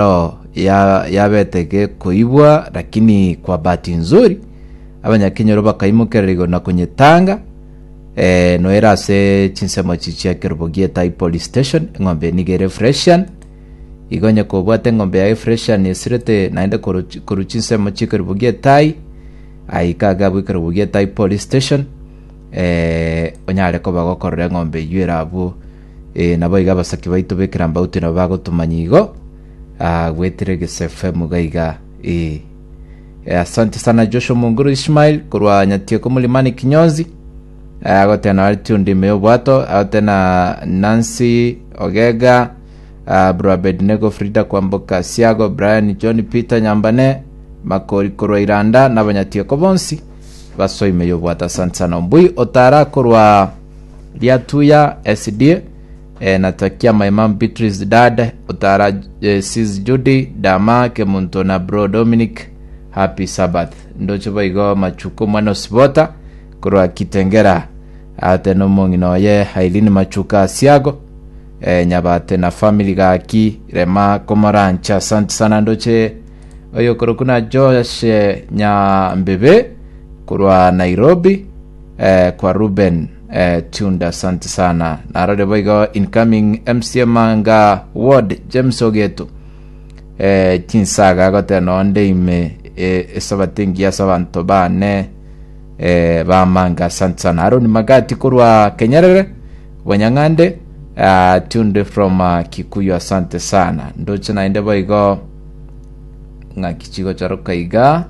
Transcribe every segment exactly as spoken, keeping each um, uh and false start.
Ero ya- yabete gekoibwa, lakini kwa bahati nzuri abanyakenyoro bakaimokerera igoro na konyetanga eh, noera ase chinsemo echi chia Kerubo Gietai Police Station. Eng'ombe eye nigo ere Fresian. Igo onye kobwate eng'ombe yaye Fresian esirete naende korwa chi- korwa chinsemo chia Kerubo Gietai, aika iga abwo Kerubo Gietai Police Station, eh, onyare koba gokorora eng'ombe eywo ere abwo. Eh, nabo iga abasaki baito b'ekerambauti nabo bagotomanya igo, ah, gwetire Gese F M iga iga eh. Eh, asante sana Joshua Munguru Ishmael korwa Nyatieko Mulimani Kinyonzi. Eh, agotena ari tuned ime y'obwato, agotena Nancy Ogega, ah, bro Abednego, Frida Kwamboka Siago, Brian John, Peter Nyambane Makori korwa Iranda na abanyatieko bonsi basoa ime y'obwato, asante sana. Ombui Otara korwa Riatuya S D, eh, natakia my mom Beatrice, dad Otara, eh, sis Judy Dama Kemunto na bro Dominic happy Sabbath. Ndoche boigo Machuko mwana Osibota korwa Kitengera ate nomong'ina oye Aileen Machuka Asiago, eh, Nyabate na family gaki rema komorancha, asante sana. Ndoche oyo korokwa na Josh eh, Nyambebe korwa Nairobi, eh, kwa Ruben, eh, tunda, asante sana. Narore boigo incoming M C A Manga Ward James Ogeto, eh, chinsaga agotera nonde ime, eh, esabati engiya ase abanto bane, eh, bamanga, asante sana. Aaron Magati korwa Kenyerere Bonyang'ande, uh, tuned from uh, Kikuyu, asante sana. Ndoche naende boigo ng'aki chigocharoka iga,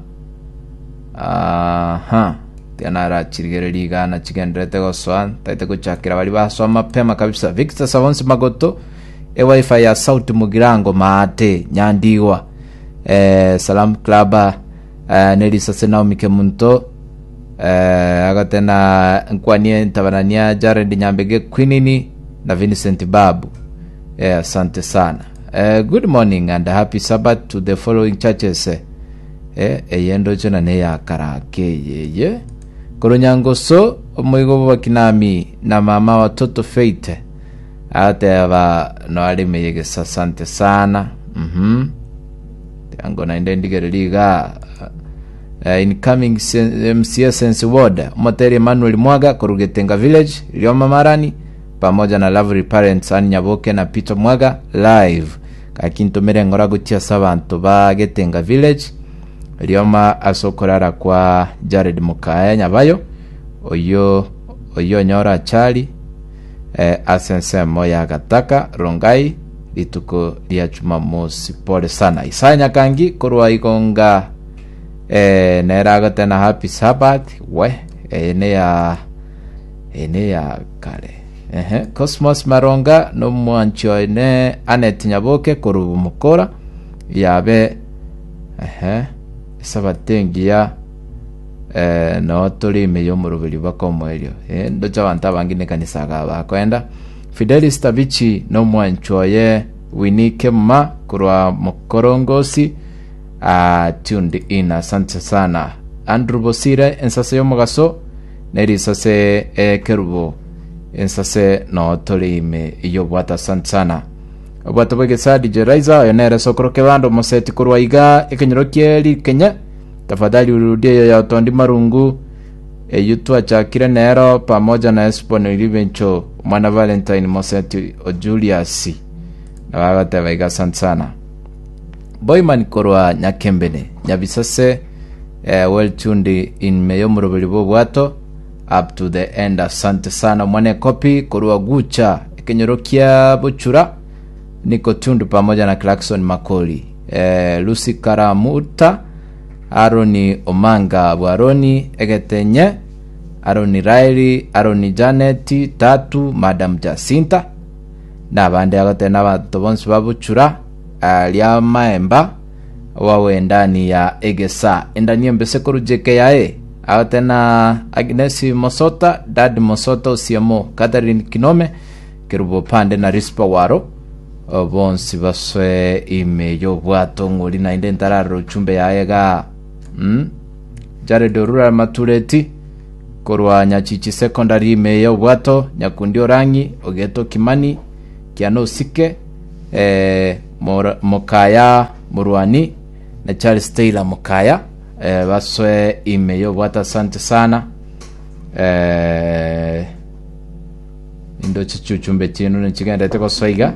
aha, tianarachirigereria iga na chigenderete gosoa taete gochakera bari basoa mapema kabisa. Victor Savonsi Magoto, ewifi ya Sauti Mugirango Maate Nyandigwa, eh, Salam Club, eh, nerisase Naomi Kemunto, eh, agotena nkwanie ntabanania Jared Nyambege Quinini na Vincent Babu, eh, asante sana. eh, good morning and happy Sabbath to the following churches. eh, eye ndoche na neyakarake yeye korwa omoigo bwakinami na mama watoto Faith ateba noarime yegesa, asante sana. mhm Tiango naende ndigereri iga, uh, incoming M C A Sense Ward Omoteri Emmanuel Mwaga korugetenga Village Rioma Marani pamoja na lovely parents Ann Nyaboke na Peter Mwaga live kakintumire ngora gochia ase abanto ba Getenga Village Rioma ase okorara kwa Jared Mukaya Nyabayo oyo oyo onyora achari, eh, ase ensemo ya Gataka Rongai rituko ria Jumamosi, pole sana. Isaya Nyakangi korwa Igonga, eh, nere agotena happy Sabbath we eye neya eye neya kare. Ehe, Cosmos Maronga nomwanchi one Anet Nyaboke korwa Mukora yabe, ehe, esabati engiya, eh, no tore ime y'omoroberi baka omoerio, eh, ndoche abanto abange nekanisa aga bakoenda. Fidelis Tabichi nomwanchi oye Winnie Kemma korwa Mokorongosi, uh, tuned in, asante sana. Andrew Bosire ensase y'omogaso nerisase ekerubo ensase no tore ime y'obwata, asante sana. Obwato bw'egesa D J Raiza oyo nere sokoro kebando moseti korwa iga ekenyoro kieri Kenya, tafadhali urudie eyo ya Otondi Marungu eyu twachakire nero pamoja na Esbon Libencho omwana Valentine Moseti o Julius nabagateba iga, asante sana. Boyman korwa Nyakembene Nyabisase, eh, well tuned in me y'omoroberi bw'obwato up to the end, asante sana. Mwana Kopi korwa Gucha ekenyoro kia Bochura, niko tundu pamoja na Clarkson Makoli, eh, Lucy Karamuta, Aroni Omanga Bwaroni Egetenye, Aroni Raeli, Aroni Janet Tatu, Madam Jacinta nabande agotena abanto bonsi babuchura ria maemba wawe ndani ya egesa endani embese korujeke yae agotena Agnes Mosota, Dad Mosota, Osiemo, Catherine Kinome, Kerubo Pande na Rispa Waro bonsi baswe ime y'obwato. Ng'ori naende ntararora uchumbe yaye ga, mm? Jared Orura Matureti korwa Nyachichi Secondary ime y'obwato, Nyakundi Orangi Ogeto Kimani Kiano Osike, eh, Mora- Mokaya Murwani na Charles Taylor Mokaya, eh, basoe ime yobwata, asante sana. eh, indoche chichumbe chinu nichigendete gosoiga,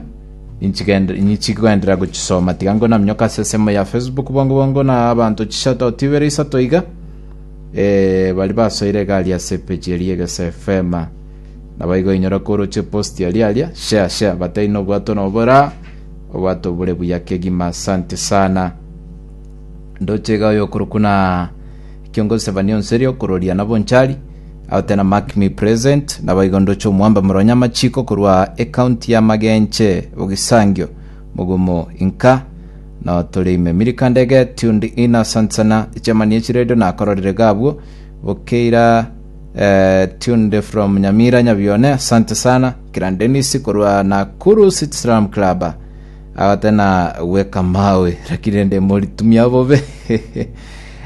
nichikoenderera gochisoma, tiga ngo namnyoka ase esemo ya Facebook bongo bongo na abanto chishoto tibere isato iga, eh, bari basoire egari ase epeji eria Egesa F M, nabo igo inyora koroche post aria aria, share share batei nobwato nobora obwato bure buya kegima, asante sana. Ndoche iga oyo okorokwa na kiongozi Sevania Onserio kororia na Bonchari aho tena mark me present, nabo igo ndoche omwamba moronya machiko korwa ecounty ya Magenche Bogisangio Mugumo inka no tore ime Milika Ndege tuned in, asante sana. Echamani echiredio nakororire gabwo Bokeira, eh, tuned from Nyamira Nyabione, asante sana. Kiran Dennis korwa Nakuru City Slam Club aho tena weka mawe lakini nde moritumia bobe.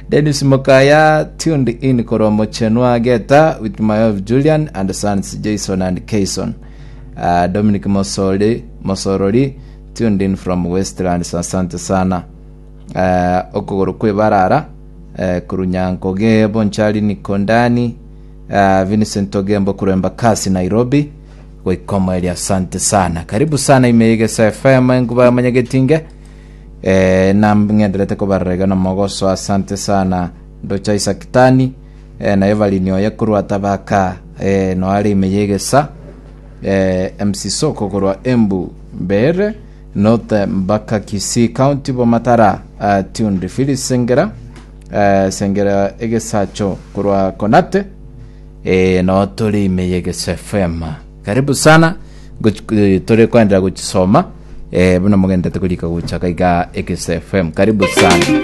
Dennis Mokaya tuned in korwa Mochenwa Geta with my wife Julian and sons Jason and Kayson. uh, Dominic Mosoli Mosorori tuned in from Westlands, asante sana. uh, okogoro kwebarara, uh, kurunyankoge Bonchari Nikondani, uh, Vincent Ogembo kuremba kasi Nairobi goikoma eri, asante sana, karibu sana imeigesa F M enkuba manyagetinge, eh, namng'enderete kobarerega na mogoso, asante sana. Ndocha Isakitani, eh, na Evelyn oye korwa Tabaka, eh, noare imeyegesa, eh, M C Soko korwa Embu Mbere North mpaka Kisii County Bomatara, uh, tuned. Phyllis Sengera, uh, Sengera Egesacho korwa Konate, eh, no turi imeyegesa F M, karibu sana. Goch- eh, turi kwendera gochisoma, eh, buna mogendete kurika gochaka iga Egesa F M, karibu sana.